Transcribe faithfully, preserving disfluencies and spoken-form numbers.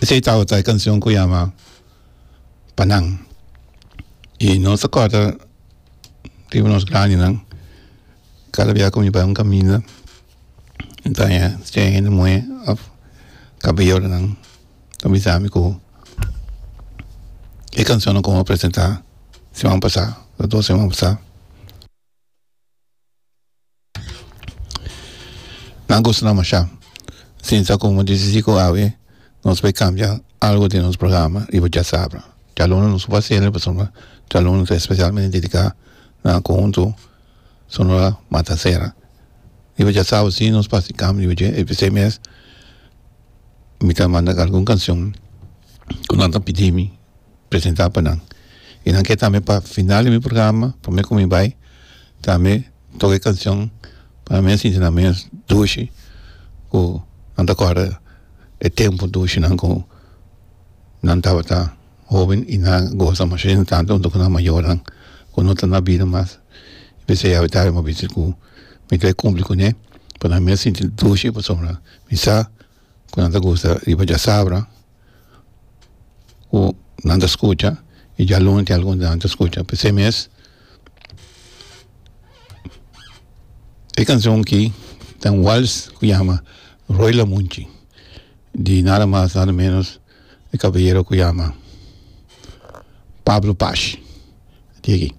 Esei tabata e kanshon ku yama Pa Nan. I nos ta kòrda riba nos grandinan kada bia ku mi bai un kaminda mi ta haña sea hende muhé òf kabayeronan ta bisa mi ku e kanshonnan ku mi a presentá siman pasá òf dos siman pasá. Nan gusta nan masha. Sinsa ku disidi ku awe nos bai kambia algu den nos programa riba djasabra. Djaluna nos por haciel pasobra djaluna ta especialmente dedica na conjunto Sonora Matancera. Riba djasabra si nos por haci cambio riba dje y p'esey mes mi ta manda algun cancion cu nan ta pidi mi presenta pa nan. Y nan ke tambe pa final di mi programa prome cu mi bay tambe toca e cancion pa nan mes sinti nan mes dushi cu nan ta corda e tempo dushinan cu nan tabata hoben y nan goza masha tanto hunto cu nan mayornan cu no ta na bida mas. P'esei awe tardi mi a bisa cu mi ta cumpli cune pa nan mes sinti dushi pasobra mi sa cu nan ta gusta riba djasabra cu nan ta scucha y djaluna tin algun di nan ta scucha. P'esei mes e cancion aki ta un wals cu yama Roy Lamunchi di nada mas nada menos e caballero cu yama Pablo Pash. Di aki.